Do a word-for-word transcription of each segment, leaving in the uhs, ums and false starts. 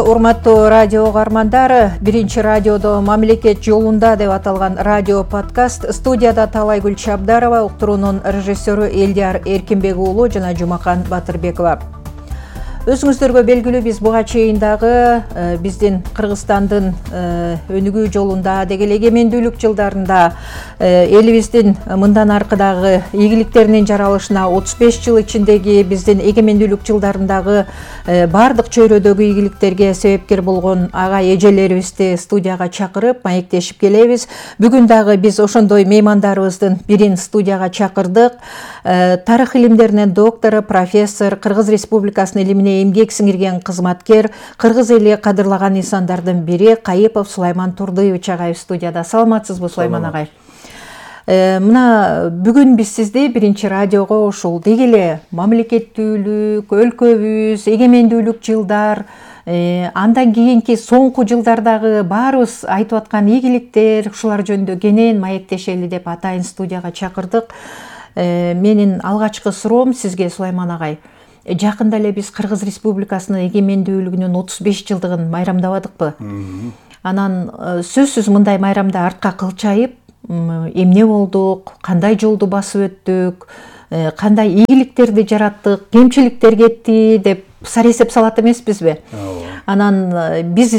Урматтуу радио угармандар, биринчи радиодо мамлекет жолунда деп аталган радио подкаст. Студияда Талайгүл Чабдарова, уктуруунун режиссеру Элдияр Эркинбек уулу жана Жумакан Батырбекова. Өзүңүздөргө белгилүү, биз буга чейин дагы биздин Кыргызстандын өнүгүү жолунда, деги эле эгемендүүлүк жылдарында элибиздин мындан аркыдагы ийгиликтеринин жаралышына отуз беш жыл ичиндеги биздин эгемендүүлүк жылдарындагы бардык чөйрөдөгү ийгиликтерге себепкер болгон ага эжелерибизди студияга чакырып маектешип келебиз. Бүгүн дагы биз ошондой меймандарыбыздын бирин студияга чакырдык. Тарых илимдеринин доктору, профессор, Кыргыз Республикасынын илимине эмгек сиңирген кызматкер, кыргыз эли кадырлаган инсандардын бири Кайыпов Сулайман Турдыевич агай студияда. Саламатсызбы, Сулайман агай? Мына бүгүн биз сизди биринчи радиого ушул деги эле мамлекеттүүлүк, өлкөбүз, эгемендүүлүк жылдар, андан кийинки соңку жылдардагы баарыбыз айтып аткан ийгиликтер, ушулар жөнүндө кенен маектешели деп атайын студияга чакырдык. Менин алгачкы суроом сизге, Сулайман агай. Жакында эле биз Кыргыз Республикасынын эгемендүүлүгүнүн отуз беш жылдыгын майрамдабадыкпы? Анан сөзсүз мындай майрамда артка кылчайып, эмне болдук, кандай жолду басып өттүк, кандай ийгиликтерди жараттык, кемчиликтер кетти деп саресеп салат эмеспизби? Анан биз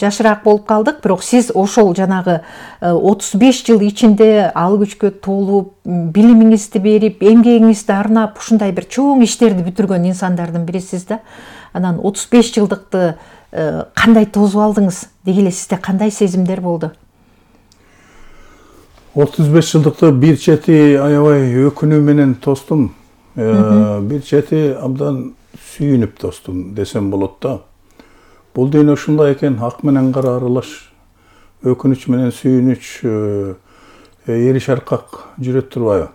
жашыраак болуп калдык, бирок сиз ошол жанагы отуз беш жыл ичинде ал күчкө толуп, билимиңизди берип, эмгегиңизди арнап, ушундай бир чоң иштерди бүтүргөн инсандардын бирисиз да. Анан отуз беш жылдыкты кандай тосуп алдыңыз? Деги эле сизде кандай сезимдер болду? отуз беш жылдыкты бир чети аябай өкүнүү менен тостум, бир чети абдан сүйүнүп тостум десем болот да. Бул дүйнө ушундай экен, ак менен кара аралаш, өкүнүч менен сүйүнүч эриш аркак жүрөт турбайбы?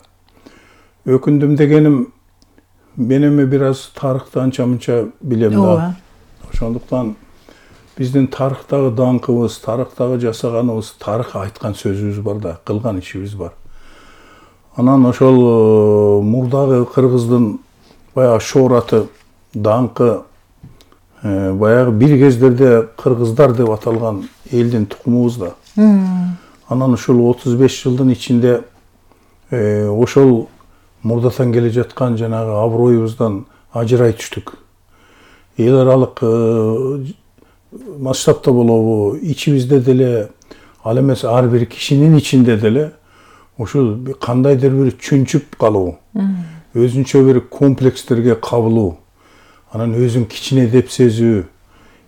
Өкүндүм дегеним, мен эми бир аз тарыхты анча мынча билем да. Ошондуктан биздин тарыхтагы даңкыбыз, тарыхтагы жасаганыбыз, тарых айткан сөзүбүз бар да, кылган ишибиз бар. Анан ошол мурдагы кыргыздын баягы шоораты, даңкы, баягы бир кездерде кыргыздар деп аталган элдин тукумубуз да. Анан ушул отуз беш жылдын ичинде ошол мурдатан келе жаткан жанагы аброюбуздан ажырай түштүк. Эл аралык масштабта болобу, ичибизде деле, ал эмес ар бир кишинин ичинде деле ушул кандайдыр бир чүнчүп калуу, өзүнчө бир комплекстерге кабылуу, анан өзүн кичине деп сезүү,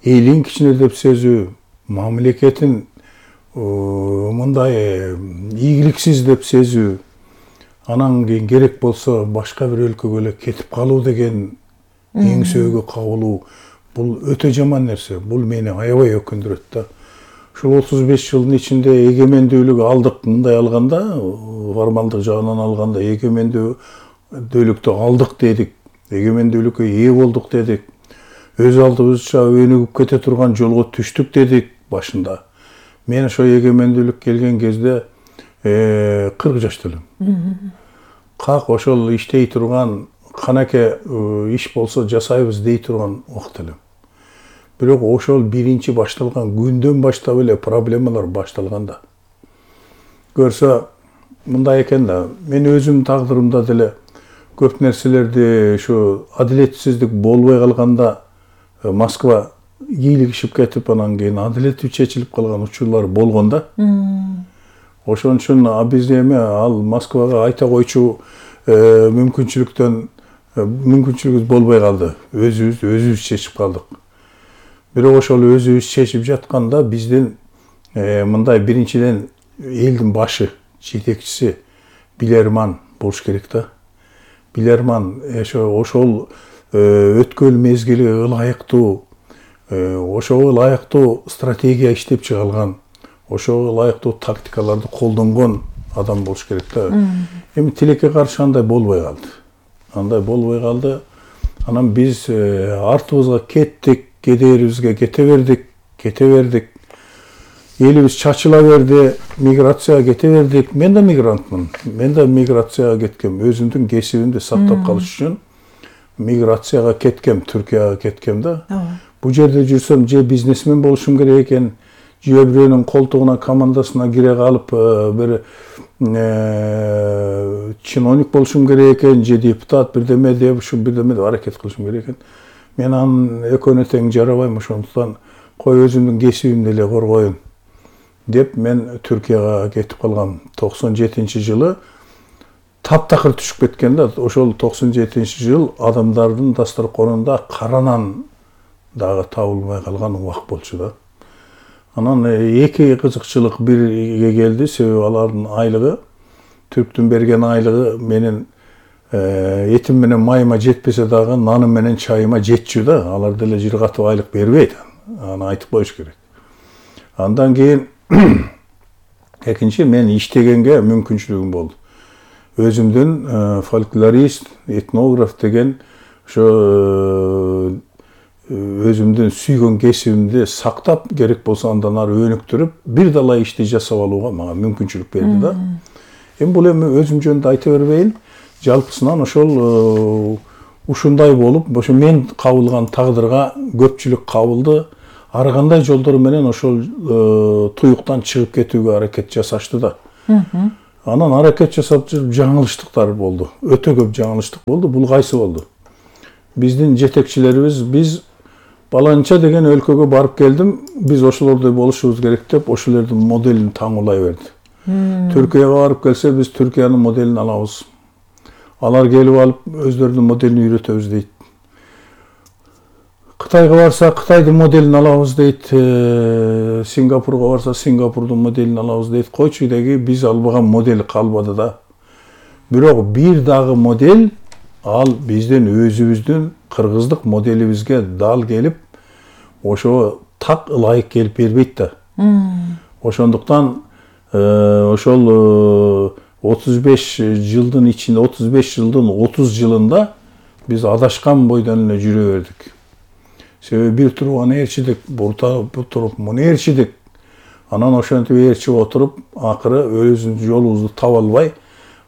элин кичине деп сезүү, мамлекетин мындай ийгиликсиз деп сезүү, анан кийин керек болсо башка бир өлкөгө эле кетип калуу деген эңсөөгө кабылуу, бул өтө жаман нерсе. Бул мени аябай өкүндүрөт да. Ушул отуз беш жылдын ичинде эгемендүүлүк алдык, мындай алганда, формалдык жагынан алганда эгемендүүлүктү алдык дедик, эгемендүүлүккө ээ болдук дедик, өз алдыбызча өнүгүп кете турган жолго түштүк дедик башында. Мен ошо эгемендүүлүк келген кезде кырк жашта элем. Как ошол иштей турган, канаке иш болсо жасайбыз дей турган убакыт элем. Бирок ошол биринчи башталган күндөн баштап эле проблемалар башталган да. Көрсө мындай экен да, мен өзүм тагдырымда деле көп нерселерди ушу адилетсиздик болбой калганда Москва ийгилигишип кетип, анан кийин адилеттүү чечилип калган учурлар болгон да. Ошон үчүн биз эми ал Москвага айта койчу мүмкүнчүлүктөн мүмкүнчүлүгүбүз болбой калды. Өзүбүз өзүбүз чечип калдык. Бирок ошол өзүбүз чечип жатканда биздин мындай биринчиден элдин башы, жетекчиси билерман болуш керек да. Билерман ошол өткөн мезгили ылайыктуу, ошого ылайыктуу стратегия иштеп чыгарылган, ошого ылайыктуу тактикаларды колдонгон адам болуш керек да. Эми тилекке каршы андай болбой калды. Андай болбой калды. Анан биз артыбызга кеттик, кедерибизге кете бердик, кете бердик. Элибиз чачыла берди, миграцияга кете бердик. Мен да мигрантмын. Мен да миграцияга кеткем. Өзүмдүн кесибимди сактап калыш үчүн миграцияга кеткем, Түркияга кеткем да. бул жерде жүрсөм же бизнесмен болушум керек экен, же бирөөнүн колтугуна, командасына кире калып бир чиновник болушум керек экен, же депутат бирдеме деп ушу бирдеме деп аракет кылышым керек экен. Мен анын экөөнө тең жарабайм, ошондуктан кой өзүмдүн кесибимди эле коргоюн деп мен Түркияга кетип калгам. токсон жетинчи жылы таптакыр түшүп кеткен да. Ошол токсон жетинчи жыл адамдардын дасторконунда кара нан дагы табылбай калган убак болчу да. Анан эки кызыкчылык бирге келди, себеби алардын айлыгы, Түрктүн берген айлыгы менин этим менен майыма жетпесе дагы наным менен чайыма жетчү да. Алар деле жыргатып айлык бербейт. Аны айтып коюш керек. Андан кийин экинчи мен иштегенге мүмкүнчүлүгүм болду. Өзүмдүн фольклорист, этнограф деген ошо өзүмдүн сүйгөн кесибимди сактап, керек болсо андан ары өнүктүрүп, бир далай ишти жасап алууга мага мүмкүнчүлүк берди да. Эми бул эми өзүм жөнүндө айта бербейин. Жалпысынан ошол ушундай болуп, ошо мен кабылган тагдырга көпчүлүк кабылды. Ар кандай жолдор менен ошол туюктан чыгып кетүүгө аракет жасашты да. Анан аракет жасап жүрүп жаңылыштыктар болду. Өтө көп жаңылыштык болду. Бул кайсы болду? Биздин жетекчилерибиз биз баланча деген өлкөгө барып келдим, биз ошолордой болушубуз керек деп ошолордун моделин таңуулай берди. Түркияга барып келсе биз Түркиянын моделин алабыз. Алар келип алып өздөрүнүн моделин үйрөтөбүз дейт. Кытайга барса Кытайдын моделин алабыз дейт. Сингапурга барса Сингапурдун моделин алабыз дейт. Койчу деги биз албаган модель калбады да. Бирок бир дагы модель ал биздин өзүбүздүн кыргыздык моделибизге дал келип, ошо так ылайык келип бербейт да. Ошондуктан ошол отуз беш жылдын ичинде, отуз беш жылдын отуз жылында биз адашкан бойдон эле жүрө бердик. Себеби бир туруп аны ээрчидик, бул туруп муну ээрчидик. Анан ошентип ээрчип отуруп, акыры өзүбүздүн жолубузду таба албай,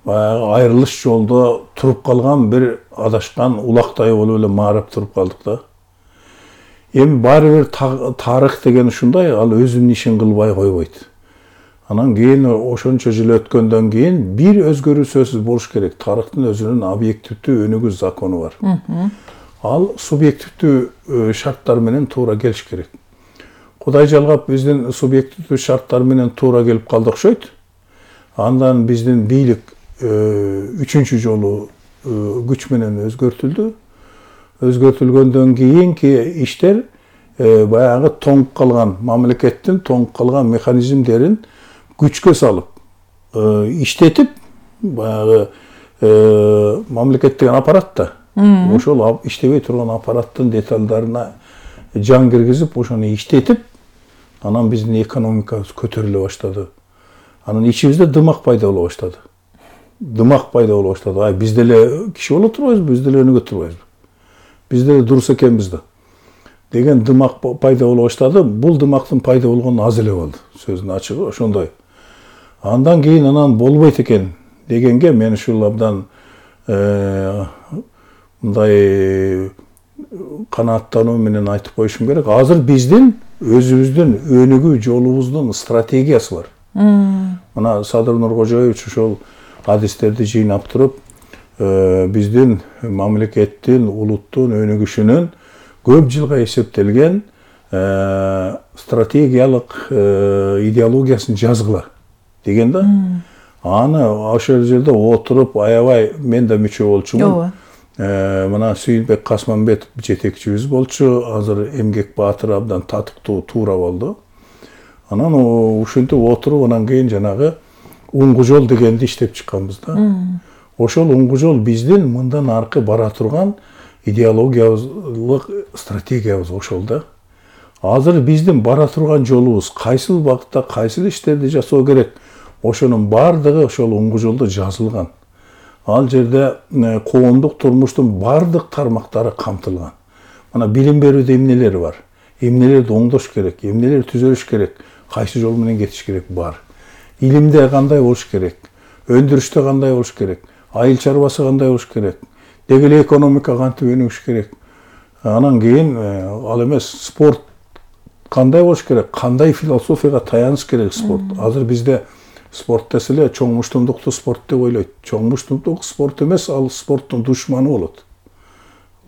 айрылыш жолдо туруп калган бир адашкан улактай болуп эле маарап туруп калдык да. Эми баары бир тарых деген ушундай, ал өзүнүн ишин кылбай койбойт. Анан кийин ошончо жыл өткөндөн кийин бир өзгөрүү сөзсүз болуш керек. Тарыхтын өзүнүн объективдүү өнүгүү закону бар. Ал субъективдүү шарттар менен туура келиш керек. Кудай жалгап биздин субъективдүү шарттар менен туура келип калды окшойт. Андан биздин бийлик үчүнчү жолу күч менен өзгөртүлдү. Өзгөртүлгөндөн кийинки иштер баягы тоңуп калган мамлекеттин тоңуп калган механизмдерин күчкө салып, иштетип, баягы мамлекет деген аппарат да. Ошол иштебей турган аппараттын деталдарына жан киргизип, ошону иштетип, анан биздин экономикабыз көтөрүлө баштады. Анан ичибизде дымак пайда боло баштады. Дымак пайда боло баштады. Ай, биз деле киши боло турбайбызбы, биз деле өнүгө турбайбызбы? Биз деле дурус экенбиз да. Деген дымак пайда боло баштады. Бул дымактын пайда болгону аз эле болду. Сөздүн ачыгы ошондой. Андан кийин анан болбойт экен дегенге мен ушул абдан мындай канааттануу менен айтып коюшум керек. Азыр биздин өзүбүздүн өнүгүү жолубуздун стратегиясы бар. Мына Садыр Нуркожоевич ошол адистерди жыйнап туруп, биздин мамлекеттин, улуттун өнүгүшүнүн көп жылга эсептелген стратегиялык идеологиясын жазгыла деген да. Аны ошол жерде отуруп, аябай мен да мүчө болчумун. Мына Сүйүнбек Касманбетов жетекчибиз болчу, азыр Эмгек Баатыр абдан татыктуу туура болду. Анан ушинтип отуруп, анан кийин жанагы уңгу жол дегенди иштеп чыкканбыз да. Ошол уңгу жол биздин мындан аркы бара турган идеологиялык стратегиябыз ошол да. Азыр биздин бара турган жолубуз кайсыл багытта кайсыл иштерди жасоо керек, ошонун бардыгы ошол уңгу жолдо жазылган. Ал жерде коомдук турмуштун бардык тармактары камтылган. Мына билим берүүдө эмнелер бар? Эмнелерди оңдош керек, эмнелер түзөлүш керек, кайсы жол менен кетиш керек бар. Илимде кандай болуш керек, өндүрүштө кандай болуш керек, айыл чарбасы кандай болуш керек, деги эле экономика кантип өнүгүш керек, Анан кийин ал эмес спорт кандай болуш керек, кандай философияга таяныш керек спорт. Азыр бизде спорт десе эле чоң муштумдукту спорт деп ойлойт. Чоң муштумдук спорт эмес, ал спорттун душманы болот.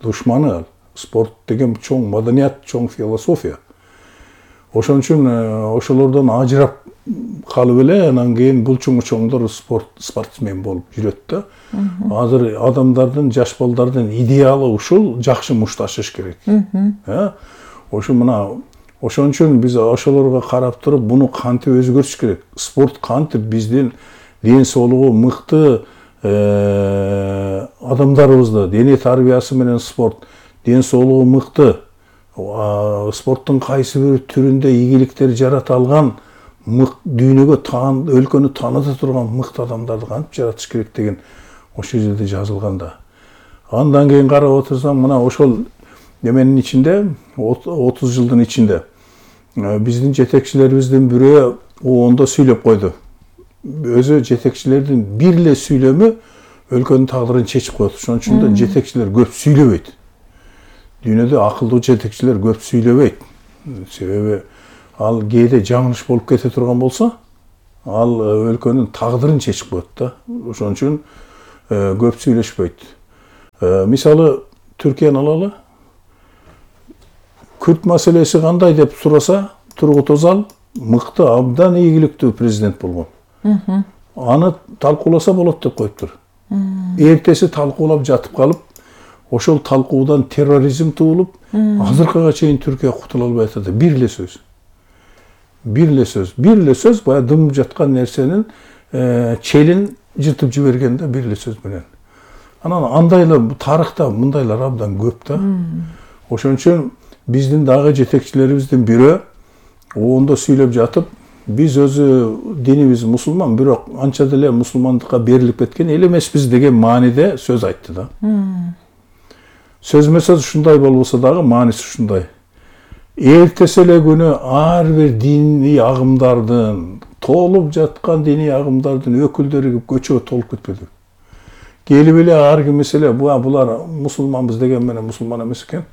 Душманы ал. Спорт деген чоң маданият, чоң философия. Ошон үчүн ошолордон ажырап калып эле анан кийин булчуңу чоңдор спорт спортсмен болуп жүрөт да. Азыр адамдардын, жаш балдардын идеалы ушул, жакшы мушташыш керек. Э? Ошо мына ошон үчүн биз ошолорго карап туруп, буну кантип өзгөртүш керек? Спорт кантип биздин ден соолугу мыкты адамдарыбызды, дене тарбиясы менен спорт, ден соолугу мыкты, спорттун кайсы бир түрүндө ийгиликтер жарата алган, дүйнөгө таан, өлкөнү тааныта турган мыкты адамдарды кантип жаратыш керек деген ошол жерде жазылган да. Андан кийин карап отурсаң, мына ошол неменин ичинде, отуз жылдын ичинде биздин жетекчилерибиздин бирөө оонда сүйлөп койду. Өзү жетекчилердин бир эле сүйлөмү өлкөнүн тагдырын чечип коет. Ошон үчүн да жетекчилер көп сүйлөбөйт. Дүйнөдө акылдуу жетекчилер көп сүйлөбөйт. Себеби ал кээде жаңылыш болуп кете турган болсо, ал өлкөнүн тагдырын чечип коет да. Ошон үчүн көп сүйлөшпөйт. Мисалы, Түркияны алалы. Күрт маселеси кандай деп сураса, Тургут Özal мыкты, абдан ийгиликтүү президент болгон. Аны талкууласа болот деп коюптур. Эртеси талкуулап жатып калып, ошол талкуудан терроризм туулуп, азыркыга чейин Түркия кутула албай атат. Бир эле сөз. Бир эле сөз. Бир эле сөз бая дымып жаткан нерсенин челин жыртып жиберген да, бир эле сөз менен. Анан андайлар тарыхта мындайлар абдан көп да. Ошон үчүн биздин дагы жетекчилерибиздин бирөө оонда сүйлөп жатып, биз өзү динибиз мусулман, бирок анча деле мусулмандыкка берилип кеткен эл эмеспиз деген мааниде сөз айтты да. Сөз менен ушундай болбосо дагы мааниси ушундай. Эртеси эле күнү ар бир диний агымдардын, толуп жаткан диний агымдардын өкүлдөрү көчөгө толуп кетпеди. Келип эле ар кимиси эле булар мусулманбыз деген менен мусулман эмес экен.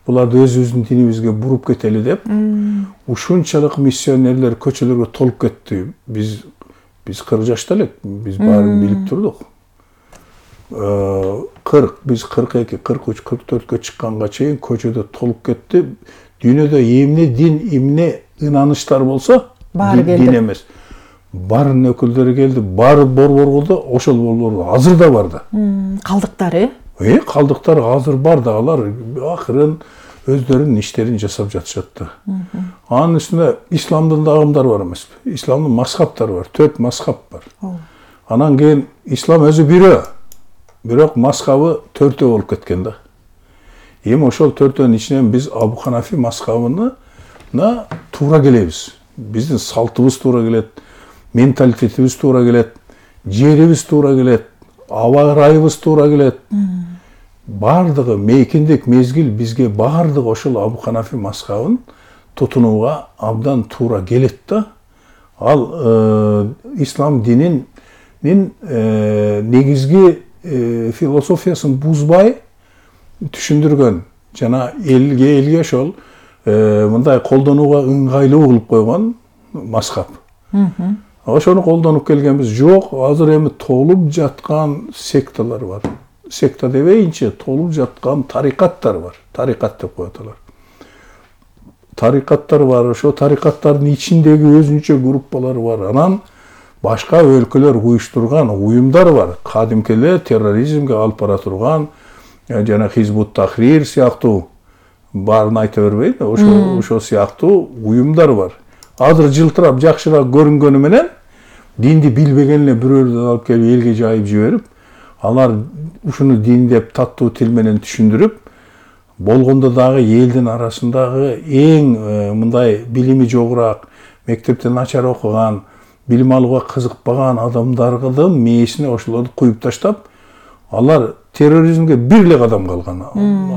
Буларды өзүбүздүн динибизге буруп кетели деп, ушунчалык миссионерлер көчөлөргө толуп кетти. Биз биз кырк жашта элек, биз баарын билип турдук. кырк, биз кырк эки, кырк үч, кырк төрткө чыкканга чейин көчөдө толуп кетти. Дүйнөдө эмне дин, эмне ынанычтар болсо, дин эмес. Барын өкүлдөрү келди, баары борборгулда, ошол борборго азыр да бар да. Калдыктары? Э, калдыктар азыр бар да, алар акырын өздөрүнүн иштерин жасап жатышат да. Анын үстүнө исламдын да агымдары бар эмеспи? Исламдын мазхабтары бар, төрт мазхаб бар. Анан кийин ислам өзү бирөө, бирок мазхабы төртөө болуп кеткен да. Эми ошол төртөөнүн ичинен биз Абу Ханафи мазхабына туура келебиз. Биздин салтыбыз туура келет, менталитетибиз туура келет, жерибиз туура келет, аба ырайыбыз туура келет. Бардыгы мейкиндик мезгил бизге бардыгы ошол Абу Ханафи мазхабын тутунууга абдан туура келет да. Ал ислам дининин негизги философиясын бузбай түшүндүргөн, жана элге элге ошол мындай колдонууга ыңгайлуу кылып койгон мазхаб. Ошону колдонуп келгенбиз. Жок, азыр эми толуп жаткан секталар бар. Секта дебейинчи, толуп жаткан тарикаттар бар. Тарикат деп коет алар. Тарикаттар бар, ошо тарикаттардын ичиндеги өзүнчө группалар бар. Анан башка өлкөлөр уюштурган уюмдар бар. Кадимки эле терроризмге алып бара турган, жана Хизбут Тахрир сыяктуу, баарын айта бербейм, ошо ошо сыяктуу уюмдар бар. Азыр жылтырап жакшыраак көрүнгөнү менен динди билбеген эле бирөөлөрдү алып келип элге жайып жиберип, алар ушуну дин деп таттуу тил менен түшүндүрүп, болгондо дагы элдин арасындагы эң мындай билими жогураак, мектепте начар окуган, билим алууга кызыкпаган адамдардын мээсине ошолорду куюп таштап, алар терроризмге бир эле кадам калган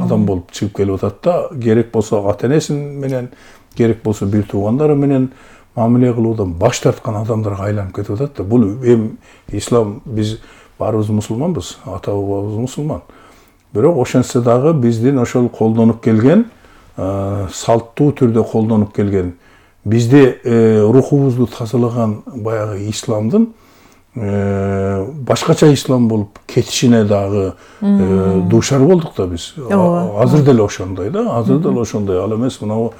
адам болуп чыгып келип атат да. Керек болсо ата-энеси менен, керек болсо бир туугандары менен мамиле кылуудан баш тарткан адамдарга айланып кетип атат да. Бул эми ислам, биз баарыбыз мусулманбыз, ата бабабыз мусулман. Бирок ошентсе дагы биздин ошол колдонуп келген, салттуу түрдө колдонуп келген, бизде рухубузду тазалаган баягы исламдын башкача ислам болуп кетишине дагы дуушар болдук да биз. Азыр деле ошондой да, азыр деле ошондой. Ал эмес мына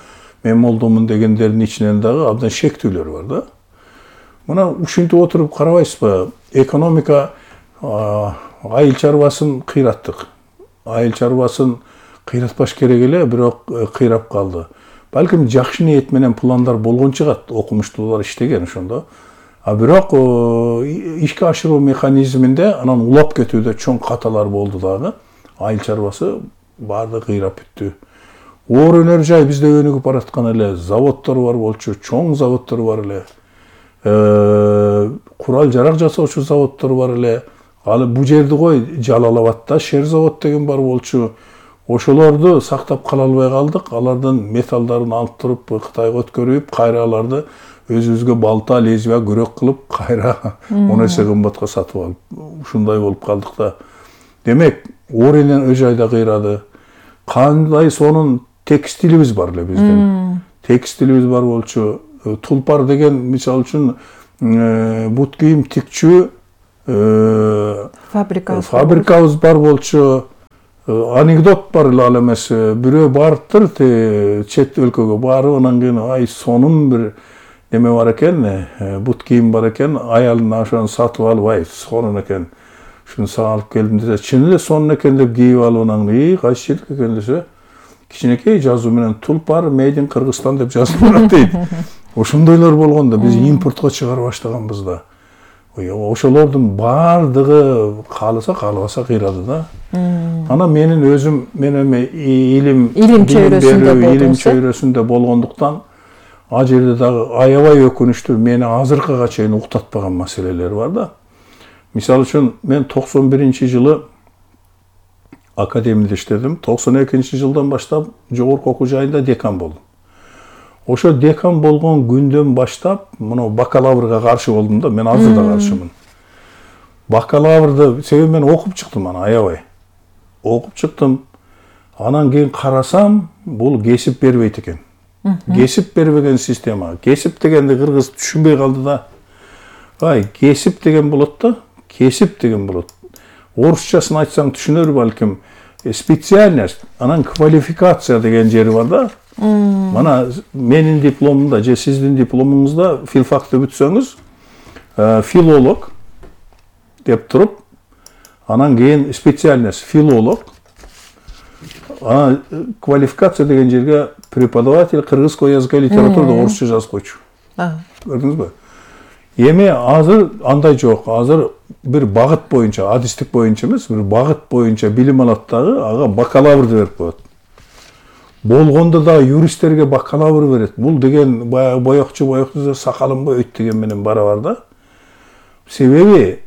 мен молдомун дегендердин ичинен дагы абдан шектүүлөр бар да. Мына ушинтип отуруп карабайсызбы? Экономика айыл чарбасын кыйраттык. Айыл чарбасын кыйратпаш керек эле, бирок кыйрап калды. Балким жакшы ниет менен пландар болгон чыгат, окумуштуулар иштеген ошондо. А бирок ишке ашыруу механизминде анан улап кетүүдө чоң каталар болду дагы. Айыл чарбасы баардыгы кыйрап бүттү. Оор өнөр жай бизде өнүгүп бараткан эле, заводдор бар болчу, чоң заводдор бар эле. Курал жарак жасоочу заводдор бар эле. Ал бу жерди кой, Жалал Абадта шер завод деген бар болчу. Ошолорду сактап кала албай калдык. Алардын металлдарын алып туруп Кытайга өткөрүп, кайра аларды өзүбүзгө балта, лезвия, күрөк кылып, кайра он эсе кымбатка сатып алып, ушундай болуп калдык да. Демек, оор энен өй жайда кыйрады. Кандай сонун текстилибиз бар эле биздин. Текстилибиз бар болчу. Тулпар деген мисалы үчүн бут кийим тикчү фабрикабыз фабрикабыз бар болчу. Анекдот бар эле, ал эмес, бирөө барыптыр чет өлкөгө барып, анан кийин ай сонун бир неме бар экен, бут кийим бар экен, аялына ошону сатып алып, ай сонун экен, ушуну сага алып келдим десе, чын эле сонун экен деп кийип алып, анан ий кайсы жердики экен десе, кичинекей жазуу менен Тулпар Made in Кыргызстан деп жазылып дейт. Ошондойлор болгон да, биз импортко чыгара баштаганбыз да. Ошолордун баардыгы кааласа каалабаса кыйрады да. Анан менин өзүм мен эми илим илим чөйрөсүндө илим чөйрөсүндө болгондуктан ал жерде дагы аябай өкүнүчтүү мени азыркыга чейин уктатпаган маселелер бар да. Мисалы үчүн мен токсон биринчи жылы академияда иштедим. токсон экинчи жылдан баштап жогорку окуу жайында декан болдум. Ошо декан болгон күндөн баштап мына бакалаврга каршы болдум да, мен азыр да каршымын. Бакалаврды себеби мен окуп чыктым аны аябай. Окуп чыктым. Анан кийин карасам, бул кесип бербейт экен. Кесип бербеген система. Кесип дегенди кыргыз түшүнбөй калды да. Ай, кесип деген болот да, кесип деген болот. Орусчасын айтсаң түшүнөр балким. Специальность, анан квалификация деген жери бар да. Мана менин дипломумда же сиздин дипломуңузда филфакты бүтсөңүз, филолог деп туруп, анан кийин специальность филолог, анан квалификация деген жерге преподаватель кыргызского языка и литературы орусча жазып койчу. Көрдүңүзбү? Эми азыр андай жок. Азыр бир багыт боюнча, адистик боюнча эмес, бир багыт боюнча билим алат дагы, ага бакалаврды берип коет. Болгондо да юристтерге бакалавр берет. Бул деген баягы боёкчу боёкчу сакалын бойойт деген менен барабар да. Себеби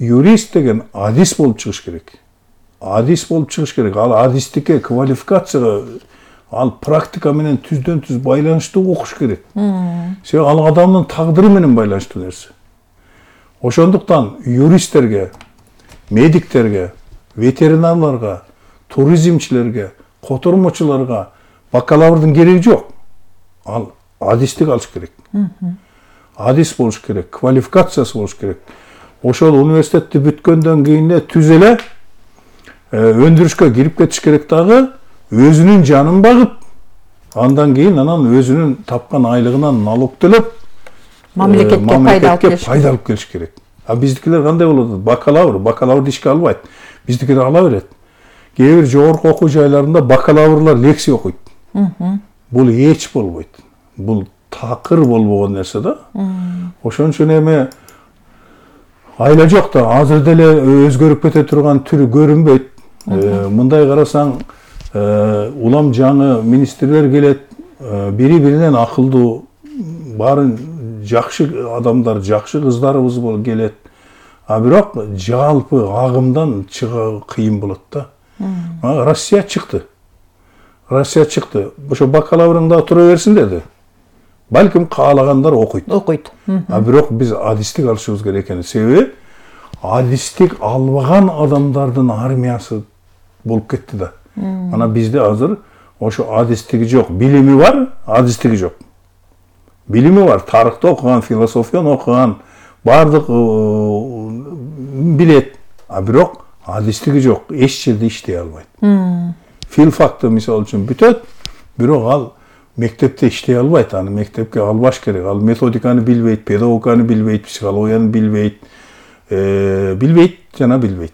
юрист деген адис болуп чыгыш керек. Адис болуп чыгыш керек. Ал адистикке, квалификацияга, ал практика менен түздөн түз байланыштуу окуш керек. Себеби ал адамдын тагдыры менен байланыштуу нерсе. Ошондуктан юристтерге, медиктерге, ветеринарларга, туризмчилерге, котормочуларга бакалаврдын кереги жок. Ал адистик алыш керек. Адис болуш керек, квалификациясы болуш керек. Ошол университетти бүткөндөн кийин түз эле өндүрүшкө кирип кетиш керек дагы, өзүнүн жанын багып, андан кийин анан өзүнүн тапкан айлыгынан налог төлөп, мамлекетке пайда алып келиш керек. А биздикилер кандай болот? Бакалавр, бакалаврды ишке албайт. Биздикилер ала берет. Кээ бир жогорку окуу жайларында бакалаврлар лекция окуйт. Бул эч болбойт. Бул такыр болбогон нерсе да. Ошон үчүн эми айла жок да, азыр деле өзгөрүп кете турган түрү көрүнбөйт. Мындай карасаң, улам жаңы министрлер келет, бири-биринен акылдуу, баарын жакшы адамдар, жакшы кыздарыбыз болуп келет. А бирок жалпы агымдан чыга кыйын болот да. Россия чыкты. Россия чыкты. Ошо бакалаврыңда тура берсин деди. Балким каалагандар окуйт. Окуйт. А бирок биз адистик алышыбыз керек экен. Себеби адистик албаган адамдардын армиясы болуп кетти да. Ана бизде азыр ошо адистиги жок, билими бар, адистиги жок. Билими бар, тарыхты окуган, философияны окуган, бардык билет, а бирок адистиги жок, эч жерде иштей албайт. Филфакты мисалы үчүн бүтөт, бирок ал мектепте иштей албайт, аны мектепке албаш керек. Ал методиканы билбейт, педагогиканы билбейт, психологияны билбейт, билбейт жана билбейт.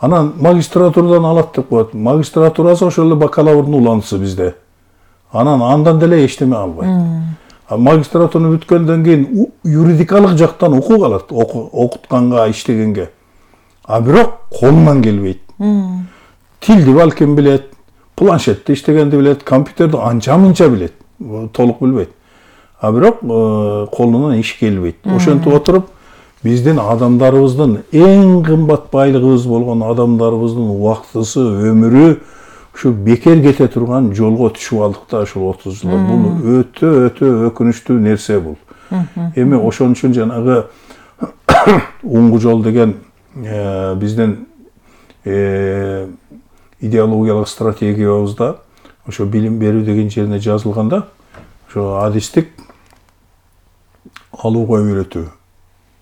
Анан магистратурадан алат деп коет. Магистратурасы ошол эле бакалаврдын уланысы бизде. Анан андан деле эчтеме албайт. А магистратураны бүткөндөн кийин юридикалык жактан укук алат, окутканга, иштегенге. А бирок колунан келбейт. Тилди балким билет, планшетте иштегенди билет, компьютерди анча-мынча билет, толук билбейт. А бирок колунан иш келбейт. Ошентип отуруп биздин адамдарыбыздын эң кымбат байлыгыбыз болгон адамдарыбыздын убактысы, өмүрү ушу бекер кете турган жолго түшүп алдык да ушул отуз жылда. Бул өтө өтө өкүнүчтүү нерсе бул. Эми ошон үчүн жанагы уңгу жол деген биздин идеологиялык стратегиябызда ошо билим берүү деген жерине жазылганда ошо адистик алууга үйрөтүү,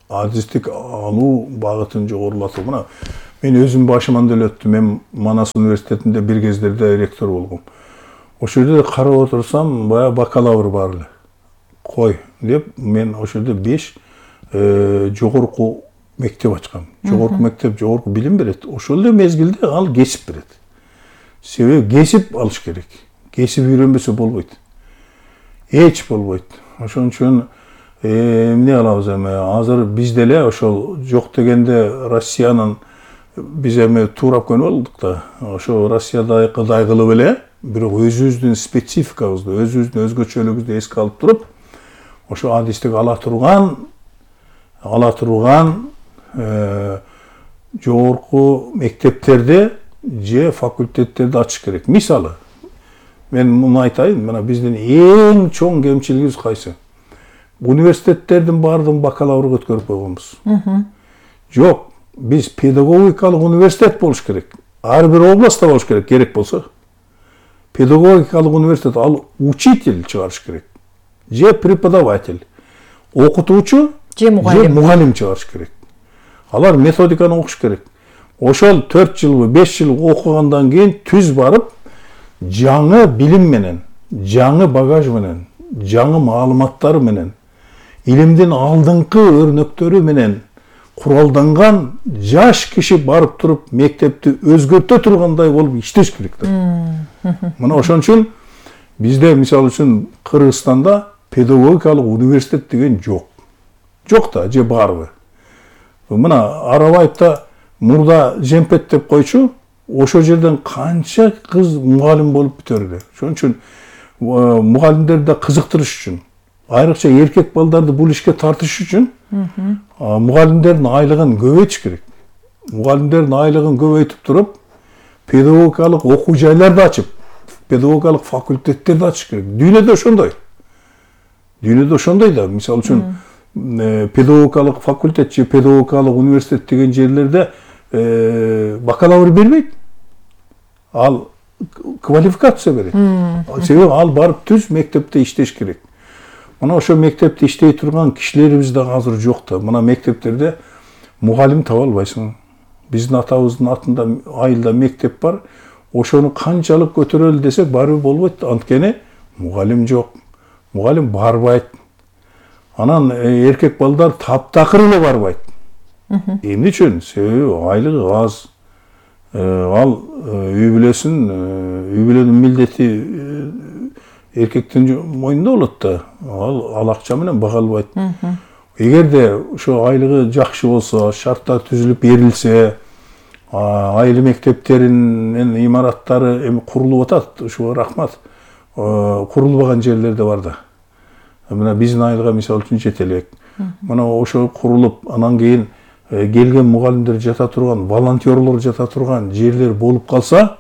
адистик алуу багытын жогорулатуу. Мына мен өзүм башыман деле өттүм. Мен Манас университетинде бир кездерде ректор болгом. Ошол жерде карап отурсам, баягы бакалавр бар эле. Кой деп мен ошол жерде беш жогорку мектеп ачкам. Жогорку мектеп жогорку билим берет. Ошол эле мезгилде ал кесип берет. Себеби кесип алыш керек. Кесип үйрөнбөсө болбойт. Эч болбойт. Ошон үчүн эмне кылабыз эми? Азыр бизде эле ошол жок дегенде Россиянын биз эми туурап көнүп алдык да. Ошо Россияда кыдай кылып эле, бирок өзүбүздүн спецификабызды, өзүбүздүн өзгөчөлүгүбүздү эске алып туруп, ошо адистик ала турган, ала турган жогорку мектептерде же факультеттерди ачыш керек. Мисалы, мен муну айтайын, мына биздин эң чоң кемчилигибиз кайсы? Университеттердин баардыгын бакалаврга өткөрүп койгонбуз. Жок, биз педагогикалык университет болуш керек. Ар бир областта болуш керек, керек болсо. Педагогикалык университет, ал учитель чыгарыш керек. Же преподаватель, окутуучу, же мугалим чыгарыш керек. Алар методиканы окуш керек. Ошол төрт жылбы, беш жыл окугандан кийин түз барып, жаңы билим менен, жаңы багаж менен, жаңы маалыматтар менен, илимдин алдыңкы өрнөктөрү менен куралданган жаш киши барып туруп мектепти өзгөртө тургандай болуп иштеш керек да. Мына ошон үчүн бизде мисалы үчүн Кыргызстанда педагогикалык университет деген жок. Жок да, же барбы? Мына Арабаевда мурда Жемпет деп койчу, ошол жерден канча кыз мугалим болуп бүтөрдү. Ошон үчүн мугалимдерди кызыктырыш үчүн, айрыкча эркек балдарды бул ишке тартыш үчүн мугалимдердин айлыгын көбөйтүш керек. Мугалимдердин айлыгын көбөйтүп туруп, педагогикалык окуу жайларды ачып, педагогикалык факультеттерди ачыш керек. Дүйнөдө ошондой. Дүйнөдө ошондой да. Мисалы үчүн педагогикалык факультет же педагогикалык университет деген жерлерде бакалавр бербейт. Ал квалификация берет. Себеби ал барып түз мектепте иштеш керек. Мына ошо мектепте иштей турган кишилерибиз да азыр жок да. Мына мектептерде мугалим таба албайсың. Биздин атабыздын атында айылда мектеп бар. Ошону канчалык көтөрөлү десек бары болбойт. Анткени мугалим жок. Мугалим барбайт. Анан эркек балдар таптакыр эле барбайт. Эмне үчүн? Себеби айлыгы аз. Ал үй бүлөсүн, үй бүлөнүн милдети эркектин мойнунда болот да. Ал ал акча менен бага албайт. Эгерде ошо айлыгы жакшы болсо, шарттар түзүлүп берилсе, айыл мектептеринин имараттары эми курулуп атат, ушуга рахмат. Курулбаган жерлер да бар да. Мына биздин айылга мисалы үчүн жете элек. Мына ошо курулуп, анан кийин келген мугалимдер жата турган, волонтерлор жата турган жерлер болуп калса,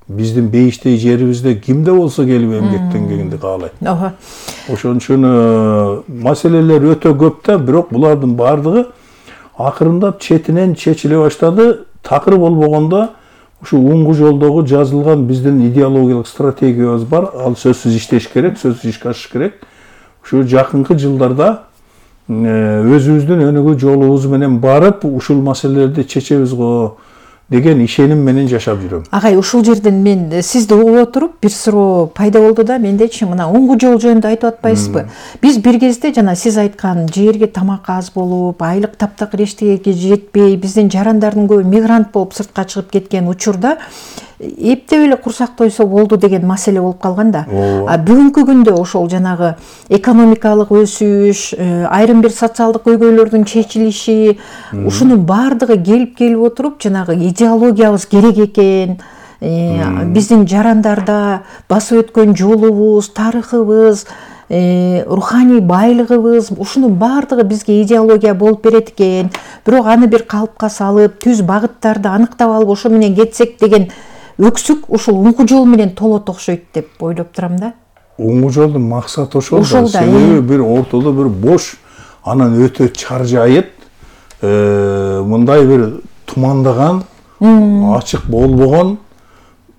биздин бейиштей жерибизде кимде болсо келип эмгектенгенди каалайт. Ошон үчүн маселелер өтө көп да, бирок булардын баардыгы акырындап четинен чечиле баштады. Такыр болбогондо Ушу уңгу жолдогу жазылган биздин идеологиялык стратегиябыз бар. Ал сөзсүз иштеш керек, сөзсүз ишке ашыш керек. Ушу жакынкы жылдарда өзүбүздүн өнүгүү жолубуз менен барып, ушул маселелерди чечебиз го деген ишеним менен жашап жүрөм. Агай, ушул жерден мен сизди угуп отуруп бир суроо пайда болду да, мендечи мына уңгу жол жөнүндө айтып атпайсызбы? Биз бир кезде жана сиз айткан жерге тамак аз болуп, айлык таптакыр эчтегеге жетпей, биздин жарандардын көбү мигрант болуп сыртка чыгып кеткен учурда эптеп эле курсак тойсо болду деген маселе болуп калган да. А бүгүнкү күндө ошол жанагы экономикалык өсүш, айрым бир социалдык көйгөйлөрдүн чечилиши, ушунун баардыгы келип келип отуруп, жанагы идеологиябыз керек экен, биздин жарандарда басып өткөн жолубуз, тарыхыбыз, руханий байлыгыбыз, ушунун баардыгы бизге идеология болуп берет экен. Бирок аны бир калыпка салып, түз багыттарды аныктап алып, ошо менен кетсек деген өксүк ушул уңгу жол менен толот окшойт деп ойлоп турам да. Уңгу жолдун максаты ошол да. Себеби бир ортодо бир бош, анан өтө чаржайыт, мындай бир тумандаган, ачык болбогон,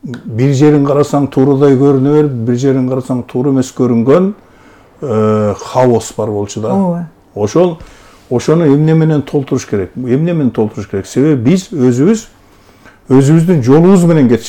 бир жерин карасаң туурадай көрүнө берип, бир жерин карасаң туура эмес көрүнгөн хаос бар болчу да. Ошол ошону эмне менен толтуруш керек? Эмне менен толтуруш керек? Себеби биз өзүбүз өзүбүздүн жолубуз менен кетишибиз